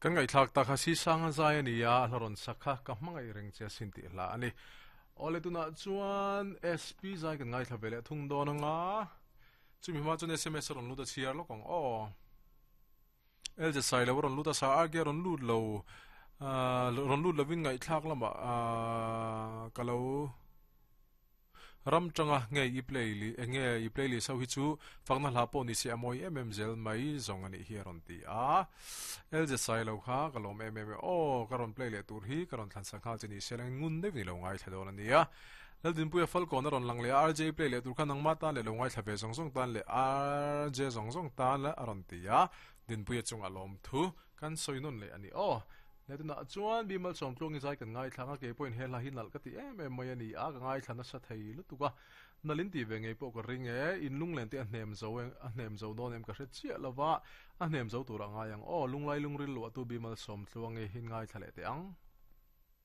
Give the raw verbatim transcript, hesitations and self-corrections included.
Kan ngaihthlak tak kha Sisanga zai a ni a, a hla rawn sak kha ka hmangaih reng che asin tih hla a ni. Awle tunah chuan SP zai kan ngaithla ve leh thung dawn anga, chumi hma chuan S M S a rawn lut a chhiar lawk ang aw. L J Sailo a rawn lut a, sa R K a rawn lut lo, rawn lut lovin ngaihthlak lamah ka lo ram tanga nge i play li enge i play list ho hi chu fakna hla pawh ni se a mawi em em zel mai zawng a nih hi a rawn ti a. L J Sailo kha ka lawm em em e aw, ka rawn play leh tur hi ka rawn thlan sak nghal che ni se la ngun deuh ni lo ngaithla dawn a nia. Laldinpuia Falkawn a rawn lang leh a, R J play leh tur kha nangma tan leh lo ngaithla ve zawng zawng tan leh R J zawng zawng tan a rawn ti a, Dinpuia chungah lawmthu kan sawi nawn leh a ni aw. Le tunah chuan Bimal Sawmtluangi zai kan ngaithlang a, kei pawhin he hla hi nalh ka ti em em mai a ni a, ka ngaithla nasa thei lutuk a, nalh in tih ve ngei pawh ka ring e, in lunglen te a hnem zo a hnem zo dawn em ka hre chiah lo va, a hnem zo tur a ngai ang aw, lunglai lungril luahtu Bimal Sawmtluangi in ngaithla leh teh ang.